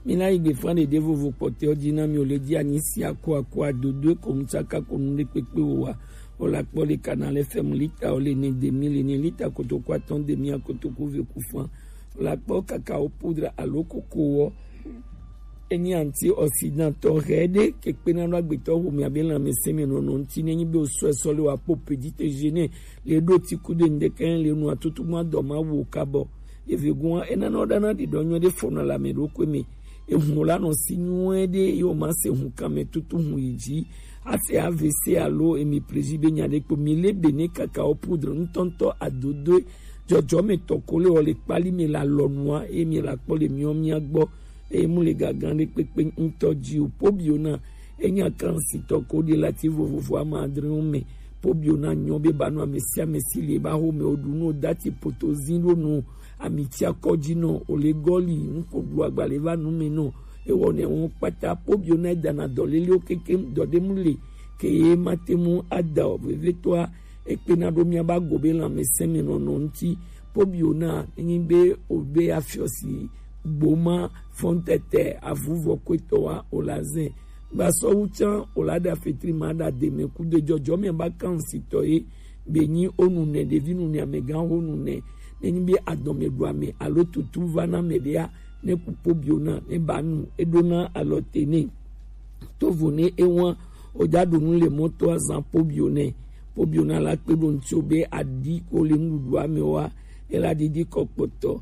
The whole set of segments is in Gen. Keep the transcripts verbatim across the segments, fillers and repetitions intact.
Mi la yi gbe fran ɖeɖe vovo kpɔtɛ ɔ ji na mi o le ji anyi si ako ako adodo e ko nu tsaka ko nu ɖe kpekpe o wa. O la kpɔ le Canal F M lita o le ne demi le ne lita kotoku atɔn demi akotoku ve ku fran. O la kpɔ kakao poudre alo koko wɔ. Enyi antioxydant tɔ hɛ ɖe ke kpena ɖo agbetɔ ho mi abe lãmesẽ mi nɔnɔ ŋuti ne nyi be o sɔ esɔ le wa po petit déjeuner le ɖo ti ku de ŋdekɛ le nu atutu ma dɔ ma wo kabɔ. Evegun wa enana wo ɖana ɖiɖɔ nyuie ɖe fɔna le ame ɖokui me. Ehun la nɔ si nyuie ɖe ye wo ma se hun kan me tutu hun yi ji. Ase A V C alo emi prezi be nya ɖe kpo mi le be ne kakao poudre ŋutɔŋutɔ adodoe jɔjɔme tɔ ko le wɔ le kpali me la lɔnua emi la kpɔ le miɔ mia gbɔ. Eye mu le gagan ɖe kpekpe ŋutɔ ji o. Pobio na enya kan si tɔ ko ɖe lati vovovo ama adre wo me. Pobio na nyɔ be ba nu ame sia ame si le ba ho me o ɖu nu o dati poto zi ɖo nu ami tsi akɔ dzi nɔ o le gɔli ŋko ɖu agbalẽ va nu me nɔ ewɔ ne wɔn kpata. Pobio na edana dɔlelewo kekem dɔɖemu le ke ye mate mu ada o vevetɔa ekpena ɖo miaba go be lãmesẽ me nɔnɔ ŋuti. Pobio na enyi be o be afiɔsi gboma fɔntɛtɛ avuvɔ kwetɔ wa o la zɛ gbasɔwu tsan o la ɖa fetri ma ɖa deme kudo jɔjɔ me ba kan sitɔ ye be nyi o nu nɛ ɖevi nu nɛ amegã ho nu nɛ ne nyi be adɔme ɖu ame alo tutu va na me ɖea ne ku pobio na ne ba nu eɖo na alɔ te ne tovo ne ewan o ja ɖo nu le mɔto azan pobio ne pobio na la kpe ɖo ŋtsi o be aɖi ko le nuɖuɖu ame wa ela ɖiɖi kɔ kpɔtɔ.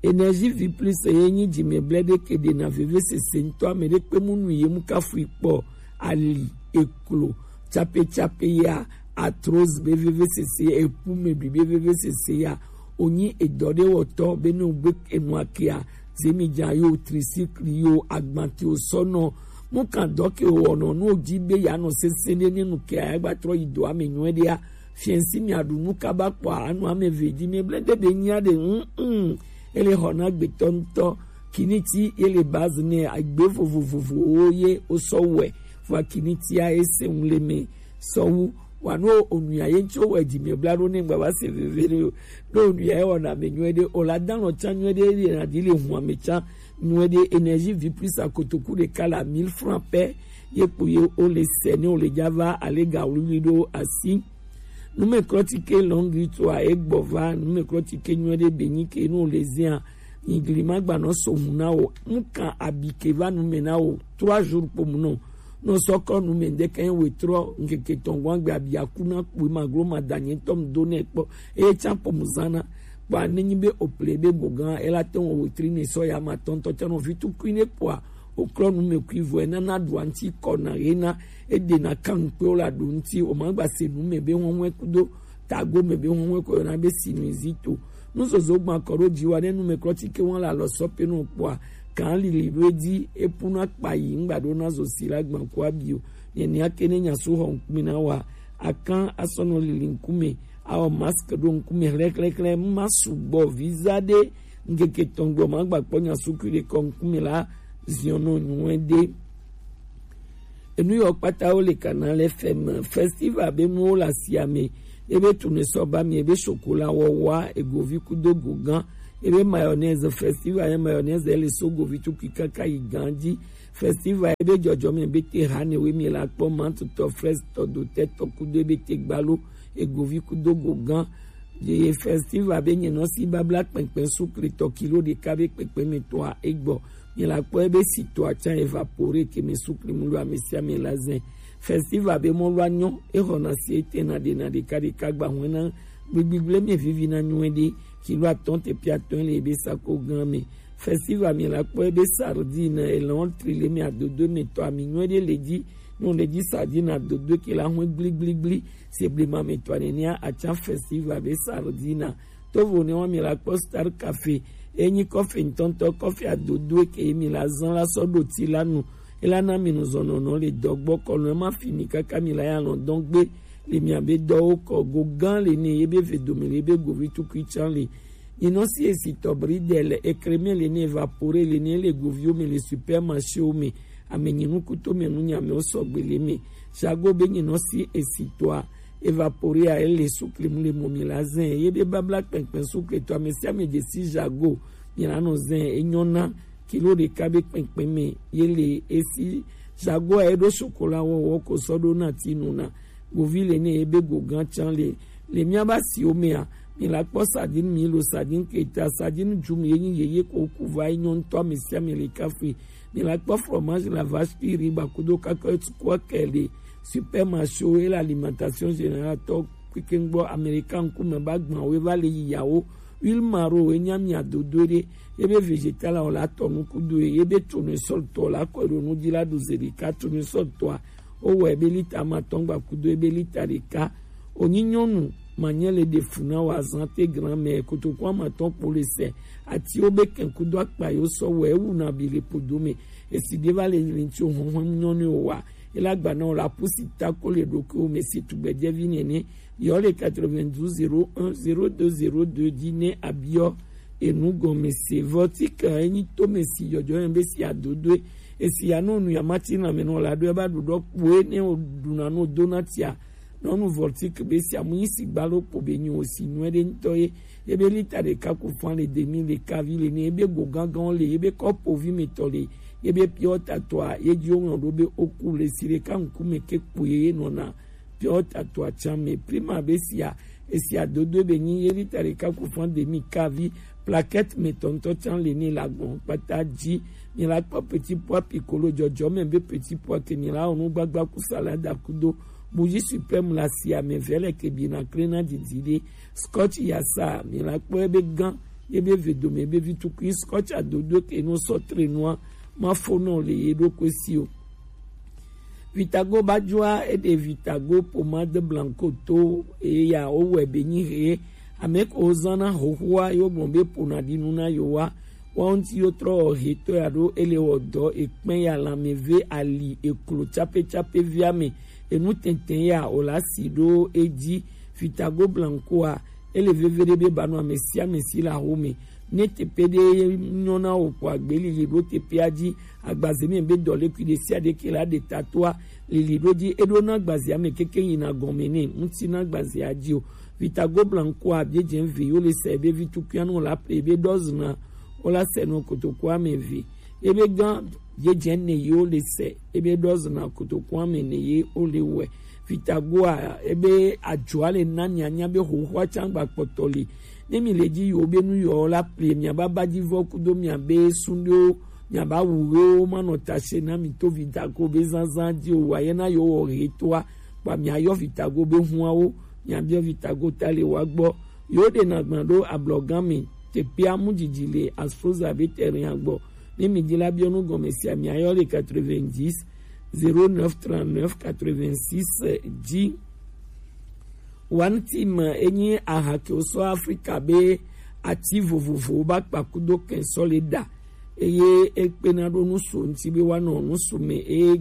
Energie vie plus ye nyi dzimɛblɛ ɖe ke ɖena vevesese ŋutɔ ame ɖe kpe mu nu ye mu kafui kpɔ ali eklo tsape tsape ya arthrose be vevesese ya eku me ɖui be vevesese ya onyi edɔ ɖe wɔtɔ be ne wogbe enua kea zemi dza yo tricycle yo agbante o sɔnɔ mu kan dɔ ke wɔnɔ nu o dzi be ya nɔ sese ɖe ne nu kea ya gba trɔ yi dɔ ame nyuie ɖea fiɛnsi mi aɖu nu kaba kpɔa anu ame ve dzi mi ble de be nyia ɖe mm ele xɔ na gbetɔ ŋutɔ kiniti ele base ne agbe vovovovowo ye o sɔ wɛ vɔ kinitia ese ŋu le me sɔwu wa no onuya ye ŋtsi wowɛ dzi me bla ɖo ne ŋgba va se veve ɖe o ɖo onuya ye wɔna me nyuie ɖe o la dan lɔ tsa nyuie ɖe ye na ɖi le hu ame tsa nyuie ɖe energie vie plus akotoku ɖeka la mille francs pɛ ye kpo ye o le sɛ ne o le dza va ale ga wluwlui ɖo asi. Numeklɔtike lɔngri toa egbɔ va numeklɔtike nyuie ɖe be nyi ke no le zia nyigli ma gba nɔ so hu na o mu kan abi ke va nume na o trois jours kpo mu nɔ nɔ sɔkɔ nume ŋdeke wetrɔ ŋkeke tɔngɔn agbe abi aku na kpo ma glo ma da nye tɔm do ne kpɔ eye tsa kpo mu zana kpɔ ne nyi be o ple be gbogan ela te wɔ wetri ne sɔ ya ma tɔntɔ tsa nɔ vi tukui ne kpɔa oklɔ nu me kui vɔ enana ɖua ŋti kɔ na ɣe na eɖena kan kpe wo la ɖo ŋti o ma gba se nu me be wɔn wɛ kudo tago me be wɔn wɛ kɔ yɔna be sinusite nuzozo gban kɔ ɖo dzi wa ne nu me klɔ tike wɔn la lɔ sɔ pe nɔ kpɔa kan lili ɖo edzi epu na kpa yi ŋgba ɖo na zo si la gban kɔ abi o ne nia ke ne nya su xɔ ŋkume na wa akan asɔnɔ lili ŋkume awɔ mask ɖo ŋkume xlɛxlɛxlɛ ma sugbɔ visa ɖe ŋkeke tɔn gbɔ ma gba kpɔ nya su kui ɖe kɔ ŋkume la ziɔnɔ nyuie ɖe. Enu yɔ kpata wo le kana le fɛm festival be nuwo le asia me ebe tune sɔ ba mi ebe sokola wɔwa egovi kudo gogan ebe mayonnaise festival ye mayonnaise ele so govi tukui kaka yi gan dzi festival ebe jɔjɔme be te ha ne we mi la kpɔ mantutɔ fraise tɔ dotɛ tɔ kudo ebe te gbalo egovi kudo gogan ye festival be nye nɔ si babla kpɛnkpɛn sukle tɔ kilo ɖeka be kpɛnkpɛn me tɔa egbɔ mi la kpɔ ebe si tɔa tsa evapore ke me sukle mu lo ame sia ame la zɛ festival be mɔ lo anyɔ exɔ na si ete na ɖe na ɖeka ɖeka gba hɔn na gbigbigle me vivi na nyuie ɖe kilo atɔn te pia atɔn le ebe sako gan me festival mi la kpɔ ebe sardine elɔn tri le mi adodo me tɔ ami nyuie ɖe le dzi no le dzi sardine adodo ke la hɔn gbligbligbli se blema me tɔ nenea atsa festival be sardine tovo ne wa mi la kpɔ star cafe enyi kɔfe ŋtɔŋtɔ kɔfe adodo ke mi la zan la sɔ ɖo ti la nu ela na mi nu zɔnɔnɔ le dɔgbɔ kɔnu ema fi mi kaka mi la ya lɔn dɔn gbe le mi abe dɔwo kɔ go gan le ne ye be ve dome le be govi tukui tsan le nyinɔ si esi tɔbri de le ekreme le ne evapore le ne le goviwo me le supermarchéwo me ame nyinu kuto me nu nyame wo sɔgbe le me jago be nyinɔ si esi tɔa evapore a ele sukle mu le mɔ mi la zɛ ye be babla kpɛnkpɛn sukle tɔ ame sia ame dze si jago mi la nɔ zɛ enyɔ na kilo ɖeka be kpɛnkpɛn mɛ ye le esi. Zago a eɖo sokola wɔwɔ ko sɔ ɖo na ti nu na govi le ne ebe gogan can le le miaba siwo mea. Mi la kpɔ sardine milo, sardine keta, sardine djum ye nyi yeye ko ku va yi nyɔ ŋutɔ ame sia ame le kafe. Mi la kpɔ fromage la vache qui rit ba kudo kaka tukua kɛ le supermarché wo ye le alimentation générale tɔ kpekpe gbɔ. Américain ŋkume ba gbã wo ye va le yi yawo. Huile maro ye nya mi adodo ɖe ye be végétal la wo la tɔ nu kudo ye ye be tournesol tɔ la kɔ ɖo nu dzi la ɖu ze ɖeka. Tournesol tɔa wo wɔ ye be lita ma tɔn gba kudo ye be lita ɖeka. Onyi nyɔnu manyɛ le ɖe fu na wa zan te gran mɛ kotoku ama tɔn kpo le sɛ ati wo be kɛn kudo akpa yo sɔ wɔ ye wu na bi le podo mɛ. Esi ɖe va le rinti o hɔn hɔn nyɔnu o wa. Ela gba na o la pusi ta ko le ɖo ke o mɛ si tugbɛjɛvi nɛnɛ. Yɔ le quatre-vingt-douze zéro un zéro deux zéro deux dzi ne abiɔ enu gɔme se. Vɔtika enyi to mɛ si yɔjɔ yɛn be si adodoe. Esi ya no nu ya mati na mɛ no la do ya ba do dɔ kpoe ne o duna no dona tia. Nɔnu vɔtik be si amu nyi si gba lo kpo be nyi o si nu ede ŋutɔ ye. Ye be lita ɖeka ku fan le demi le kavi le ne ye be go gangan le ye be kɔpo vi me tɔ le ye be piɔ tatɔa ye dzi o ŋlɔ do be o ku le si ɖeka ŋkume ke kpo ye ye nɔna. Piɔ tatɔa can me prima be sia esia dodo be nyi ye lita ɖeka ku fan demi kavi. Plaquette me tɔntɔ can le ne la gbɔn kpata dzi. Mi la kpɔ petit pois piccolo jɔjɔ me be petit pois ke mi la onu gbagba ku salada kudo. Bougie suprême la sia me vɛ le ke bi na kre na didi de. Scotch ya sa mi la kpɔ ebe gan ye be ve dome be vi tukui scotch adodo ke no sɔ tre noa ma fo nɔ le ye ɖo ko si o. Vitago ba jua eɖe Vitago pomade blanco to eya o wɛ be nyi he ame ko zana hohoa yo gbɔn be pona dinu na yo wa. Wa ŋuti yo trɔ he to ya ɖo ele wɔ dɔ ekpɛn ya lanmeve ali eklo tsape tsape via me enu tɛntɛn ya o la si ɖo edzi. Vitago blanco a ele veve ɖe be ba nɔ ame sia ame si le aho me. Ne teƒe ɖe nyɔ na wò kpɔ agbelili ɖo teƒea dzi. Agbaze me be dɔlekui ɖe sia ɖe ke la ɖe tatoa lili ɖo dzi eɖo na agbazea me keke yina gɔme ne ŋuti na agbazea dzi o. Vitago blanco a be dze ve yo le se be vitukuia no la pe be dɔzna o la se no kotoko ame ve ebe gan be dze ne yo le se ebe dɔzna kotoko ame ne ye o le wɛ. Vitagoa ebe adzoa le na mianya be xoxoa tsa gba kpɔtɔ li. Ne mi le dzi yiwo be nu yiwo la plie miaba ba dzi vɔ kudo miabe sunɖewo miaba wu ɣewo manɔ tase na mi to Vitago be zazã dzi o wa ye na yewo wɔ ɣetoa kpa miayɔ Vitago be huawo miabiɔ Vitago ta le wa gbɔ. Yewo ɖe na gban ɖo ablɔgã me teƒea mu dzidzi le Asproza be terrain gbɔ. Ne mi dzi la biɔ nu gɔme sia miayɔ le quatre-vingt-dix zéro neuf trente-neuf quatre-vingt-six dzi. One Team enyi aha ke wosɔ Afrika be ati vovovowo ba kpa kudo kɛn sɔ le ɖa eye ekpena ɖo nusu ŋuti be woanɔ nusu me eye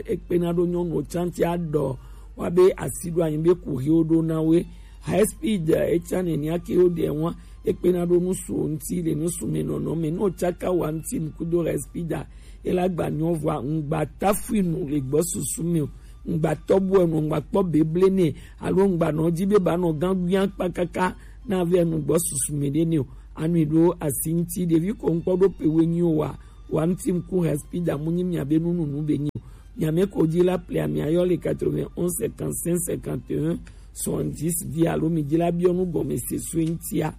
ekpena ɖo nyɔnuwo tsa ŋuti aɖɔ woabe asi ɖo anyi be kuxiwo ɖo na woe. High speed etsa nenia ke woɖe wa ekpena ɖo nusu ŋuti le nusu me nɔnɔ me ne wotsaka One Team kudo high speed a ela gba nyɔ vɔa ŋgba tafui nu le gbɔ susu me o. Ŋgba tɔbu enu ŋgba kpɔ beble ne alo ŋgba nɔ dzi be ba nɔ gã guia kpa kaka na ve enu gbɔ susu me ɖe ne o. Anui ɖo asi ŋuti ɖevi ko ŋkpɔ ɖo pe we nyi o wa One Team ku high speed amu nyi mia be nununu be nyi o. Mia me ko dzi la plia mia yɔ le quatre-vingt-onze cinquante-cinq cinquante et un soixante-dix dzi alo mi dzi la biɔ nu gɔme se sue ŋutia.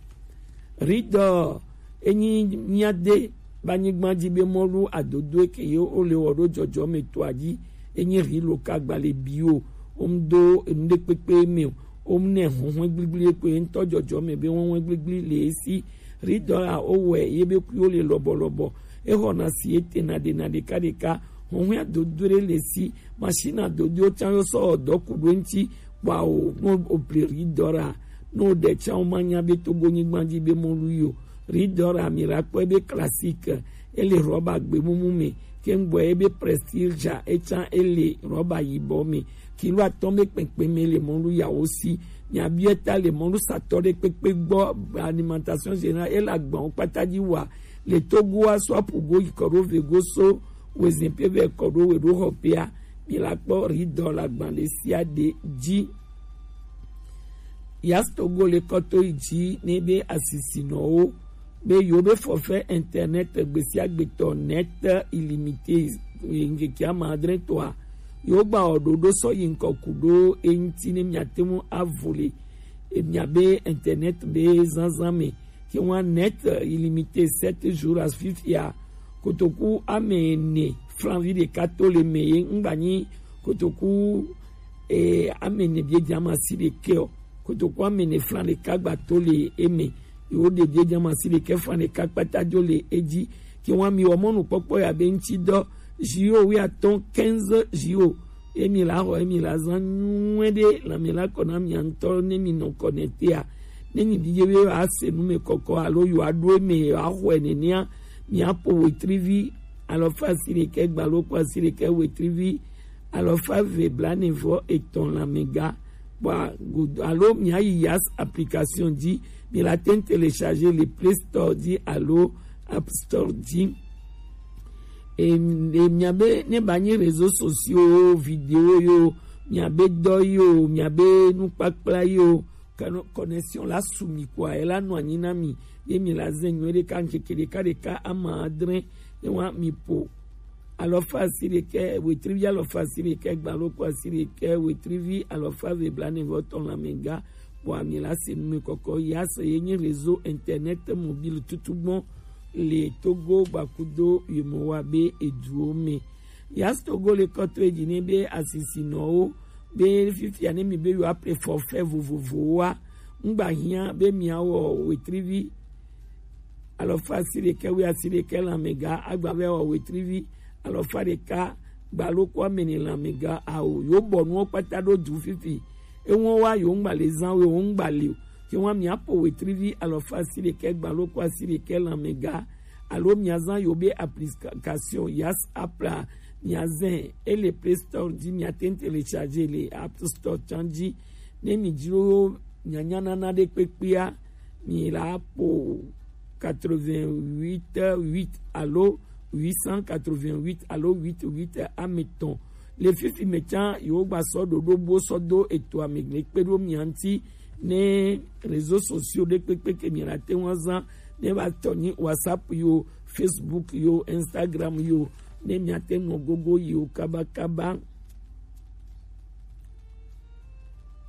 Ridɔ enyi mia de ba nyigba dzi be mɔlu adodo eke ye o le wɔ ɖo dzɔdzɔ me to adzi enyi ri lo ka gba le bi o. O mu do enu ɖe kpekpe me o. O mu ne huhun gbligble ko ye ŋutɔ dzɔdzɔ me be huhun gbligble le esi. Ridɔ a o wɛ ye be kuyo le lɔbɔlɔbɔ. Exɔna si etena ɖena ɖekaɖeka. Huhun adodo ɖe le si. Machine adodo tsa yo sɔ dɔ ku ɖo ŋuti. Kpɔa o no o ple ridɔ ra no ɖe tsa o ma nya be Togo nyigba dzi be mɔlu yo. Ridɔ ra mi ra kpɔe be classique ele rɔba gbemumu me. Kengboa ebe prestige ja etsa ele rɔba yibɔ me. Kilo atɔ̃ be kpekpe me le mɔlu yawo si. Miabiɔ ta le mɔlu satɔ ɖe kpekpe gbɔ. Alimentation générale ele agbawo kpata dzi wa le Togoa so apugo yi kɔ ɖo vego so wezin pe vɛ kɔ ɖo we ɖo xɔ pea. Mi la kpɔ ridɔ le agban ɖe sia ɖe dzi. Yas Togo le kɔto yi dzi ne be asisinɔwo be yewo be forfait internet gbesiagbetɔ, net illimité, ŋkeke ame adre tɔa, yewo gba wɔ ɖoɖo sɔ yi ŋkɔ ku ɖo eŋuti ne miate ŋu avo le miabe internet be zazã me. Ke ŋua net illimité sept jours, afi fia kotoku ame ene flan vi ɖeka to le me ye ŋgba nyi kotoku e, ame ene biedze ame asi ɖekɛ o. Kotoku ame ene flan ɖeka gba to le eme. Yewo ɖe biedze ame asi ɖekɛ flan ɖeka kpata dzo le edzi. Ke ŋua mi wɔ mɔnukpɔkpɔ ya be ŋuti dɔ, zi wo wi atɔ̃, quinze zi wo. Emi la xɔ, emi la zã nyuie ɖe, lãme la kɔ na mia ŋutɔ ne mi nɔ kɔ ne tea. Ne mi didi be yewoa se nu me kɔkɔ alo yewoa ɖo eme yewoa xɔe nenea, mia ƒo wetrivi alɔfa asi ɖekɛ gbalokpo asi ɖekɛ wetrivi alɔfa eve blaene vɔ etɔ̃ lãmega. Bua godo alo mia yi Yas application dzi, mi la te ŋu télécharger le Play Store dzi alo App Store dzi. E, e, miabe ne ba nyi réseaux sociaux yo, vidéo yo, miabe dɔ yo, miabe nukpakpla yo, kano connexion la su mi kua, e la nɔ anyi na mi, ye mi la zɛ nyuie ɖeka ŋkeke ɖeka ɖeka ama adre, ye wa mi ƒo alɔfa asi ɖekɛ wetrivi alɔfa asi ɖekɛ gbalokpo asi ɖekɛ wetrivi alɔfa eve blaene vɔ etɔ̃ lãmega. Bua mi la se nu me kɔkɔ. Yas ye nyi réseau internet mobile tutugbɔ le Togo gbakudo yemowa be eduwo me. Yas Togo le kɔtɔ edzi ne be asisinɔwo be fifia ne mi be yewoa ƒle forfait vovovowoa, ŋgba hiã be miawɔ wetrivi alɔfa asi ɖekɛ wi asi ɖekɛ lãmega, agba be awɔ wetrivi alɔfa ɖeka gbalokpo ame ene lãmega ao. Yewo bɔ nuwo kpata ɖo du fifi. Eŋuwo wa yewo ŋgba le zã o, yewo ŋgba le o. Ke ŋua mia ƒo wetrivi alɔfa asi ɖekɛ gbalokpo asi ɖekɛ lãmega alo mia zã yewo be application Yas app la, mia zɛ ele Play Store dzi, mia te ŋu télécharger le App Store tsã dzi. Ne mi dzro nyanya nana ɖe kpekpea, mi la ƒo quatre-vingt-huit huit alo huit cent quatre-vingt-huit alo huit huit ame etɔ̃. Le fifi me tsã yewo gba sɔ ɖoɖo bo sɔ do etoa me le kpe ɖo mia ŋuti ne réseaux sociaux ɖe kpekpe ke mi la te ŋu azã ne ba tɔ nyi WhatsApp yo, Facebook yo, Instagram yo, ne mia te ŋu nɔ gogo yi o kabakaba.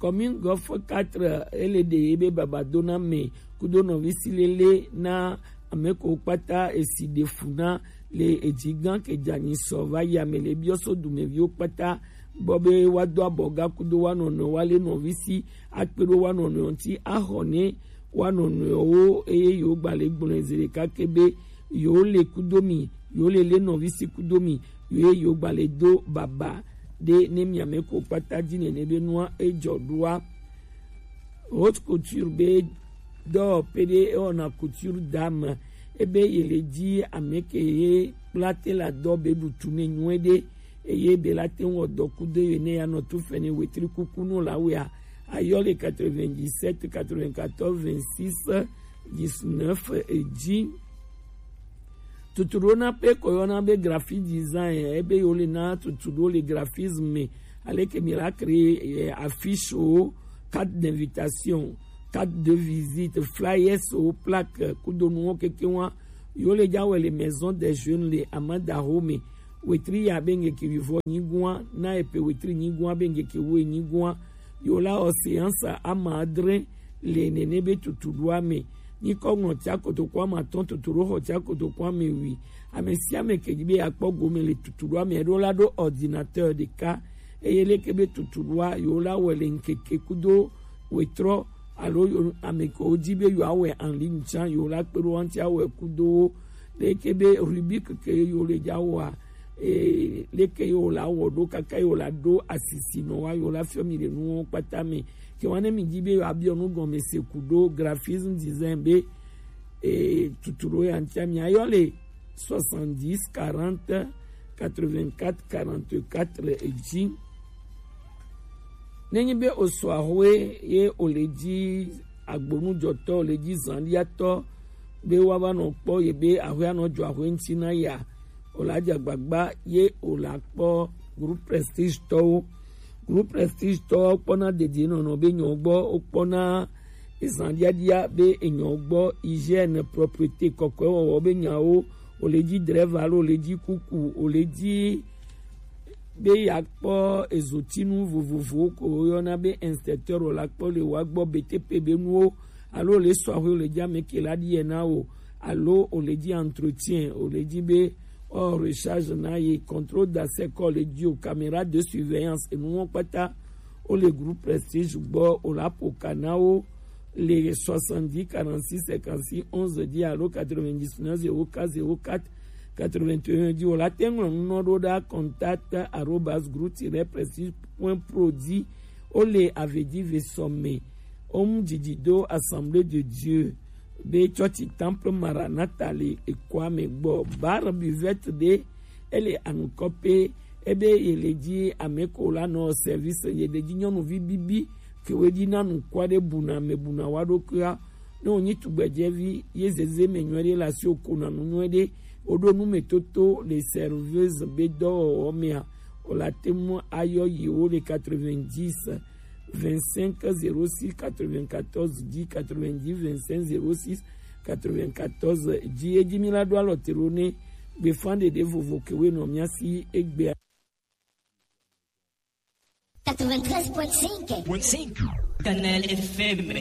Commune Golfe quatre ele ɖe ye be babadona me kudo nɔvisi lele na ame ko kpata esi ɖe fu na le edzi gã ke dza nyi sɔ va yi ame le biɔ so dumeviwo kpata gbɔ be wa do abɔ ga kudo wa nɔnɔ wa le nɔvisi akpe ɖo wa nɔnɔ ŋuti axɔ ne wa nɔnɔewo eye yewo gba le gblɔe zi ɖeka ke be yewo le kudo mi, yewo le le nɔvisi kudo mi, ye yewo gba le do baba ɖe ne miame ko kpata dzi nene be nua edzɔ ɖoa. Haute couture be dɔwɔƒe ɖe ewɔna couture d'âme ebe ye le dzi ame ke ye kpla te la dɔ be ɖu tume nyuie ɖe eye be la te ŋu wɔ dɔ kudo ye ne ya nɔ tu fɛnɛ wetri kuku nu la wea ayɔ le quatre-vingt-dix-sept quatre-vingt-quatorze vingt-six dix-neuf dzi. Tutuɖo na pe ko yɔna be graphic design ebe yo le na tutuɖo le graphisme me aleke mi la créer eh, affiche o, carte d'invitation, carte de visite, flyers o, plaque kudo nuwo keke wa yo le dza wɔ le maison des jeunes le Amada Home. Wetri ya be ŋgeke wivɔ nyigua na epe wetri nyigua be ŋgeke wo nyigua yo la o séance ama adre le nene be tutuɖoa me. Nyikɔ ŋlɔ tia kotoku ama tɔn tutuɖo xɔ tia kotoku ame wi. Ame sia ame ke dzi be yakpɔ gome le tutuɖoa me ɖo la ɖo ordinateur ɖeka eye leke be tutuɖoa yo la wɔ le ŋkeke kudo wetrɔ alo yo ame ke wo dzi be yo awɛ en ligne tsã yo la kpe ɖo wa ŋuti awɛ kudo wo leke be rubrique ke yo le dza wɔa ee leke ye wòle awɔ ɖo kaka ye wòle aɖo asisi nɔ wa ye wòle afiɔ mi le nuwo kpata me. Ke wa ne mi di be yewoabiɔ nu gɔme se ku ɖo graphisme design be ee tutu ɖo ya ŋutia mi ayɔ le soixante-dix quarante quatre-vingt-quatre quarante-quatre dzi. Nenye be osɔ ahoe ye wòle dzi agbonujɔtɔ wòle dzi zanɖiatɔ be woava nɔ kpɔ ye be ahoe anɔ dzɔ ahoe ŋuti na ya wòle adze agbagba ye wòle akpɔ groupe prestige tɔwo. Groupe prestige tɔwo kpɔna dedienɔnɔ be nyɔ gbɔ wokpɔna Ezan diadia be enyɔ gbɔ, hygiène, propreté, kɔkɔe wɔwɔ be nyawo, o le dzi dreva alo o le dzi kuku, o le dzi be yeakpɔ ezotinu vovovowo ko woyɔna be inspecteur o la kpɔ le wa gbɔ, B T P be nuwo, alo o le sɔ axwe o le dzi ame ke la ɖi yɛ na o, alo o le dzi entretien, o le dzi be o recharge na ye, contrôle d'accès kɔ le dzi o, caméra de surveillance, enuwo kpata o le groupe Prestige gbɔ, o la ƒo ka na wo le soixante-dix quarante-six cinquante-six onze dzi alo quatre-vingt-dix-neuf zéro quatre zéro quatre quatre-vingt-un dzi. O la te ŋlɔ nu nɔ ɖo ɖa contact arobase groupe tiret prestige point pro dzi. O le Avedive sɔme. Om didi do Assemblée de Dieu be tsɔtsi Temple Maranatha le ekɔa me gbɔ. Bar buvette ɖe, ele anukɔ pe, ebe ye le dzi ame ko la nɔ service, ye le dzi nyɔnuvi bibi ke wo dzi na nukua ɖe buna me buna wa ɖokuia. Ne wonyi tugbedzevi ye zeze me nyuie ɖe le asi o ko na nu nyuie ɖe, o ɖo nu me toto le serveuse be dɔwɔwɔ mea, o la te ŋu ayɔ yewo le quatre-vingt-dix vingt-cinq zéro six quatre-vingt-quatorze dix, quatre-vingt-dix vingt-cinq zéro six quatre-vingt-quatorze dix. Edzi mi la ɖo alɔ te ɖo ne gbefa ɖeɖe vovo ke wo nɔ mia si egbea. Quatre-vingt-treize point cinq. Canal F M.